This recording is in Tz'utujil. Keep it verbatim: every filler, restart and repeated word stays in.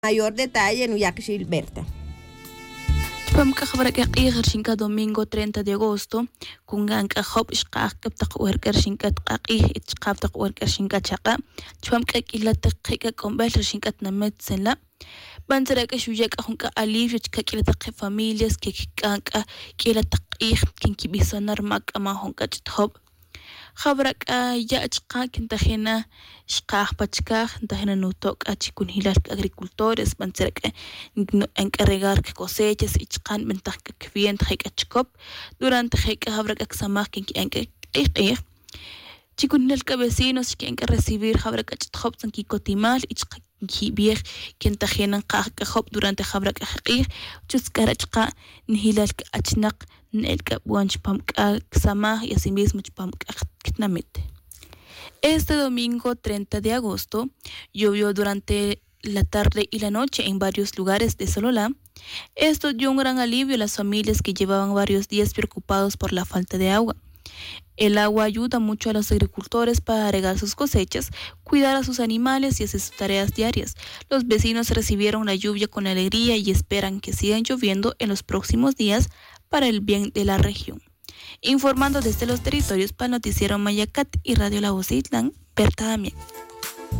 Mayor detalle nuyaq xilberta. Chupam c'a jawara' c'a k'ij rixin c'a domingo treinta de agosto, con can c'a job xkaj c'a pa tak wer c'a rixin c'a k'ak'ij y chaka' pa tak wer c'a rixin c'a chaka'. Chupam c'a q'uila tak je' c'a c'onbel rixin c'a tinamet tzin la'. Bantzara' c'a xuya' c'a jun c'a alivio chica q'uila tak je' familias que c'a c'a q'uila tak k'ij que nquibison na rma c'a man jun c'a ch'it job. Jawara' c'a ya' chaka' que ntajin na xkaj pa chicaj, ntajin na nuto' c'a chi cunjilal c'a agricultores. Bantzara' c'a nque'en c'a regar c'a cosechas y chaka' nbintaj c'a cviento je' c'a chicop. Durante je' c'a jawara' c'a csamaj que nque'en c'a k'ij k'ij chi cunjilal c'a vecinos xque'en c'a recibir jawara' c'a ch'it job tzan quicotimal y chaka' nquibij que ntajin na nkaj c'a job durante jawara' c'a je' k'ij. Chutz c'a re' chaka' njilal c'a achnak n'el c'a bon chupam c'a csamaj y asimismo chupam c'a quetinamit. Este domingo treinta de agosto llovió durante la tarde y la noche en varios lugares de Sololá. Esto dio un gran alivio a las familias que llevaban varios días preocupados por la falta de agua. El agua ayuda mucho a los agricultores para regar sus cosechas, cuidar a sus animales y hacer sus tareas diarias. Los vecinos recibieron la lluvia con alegría y esperan que sigan lloviendo en los próximos días para el bien de la región. Informando desde los territorios para el noticiero Mayacat y Radio La Voz de Itlán, Berta Damián.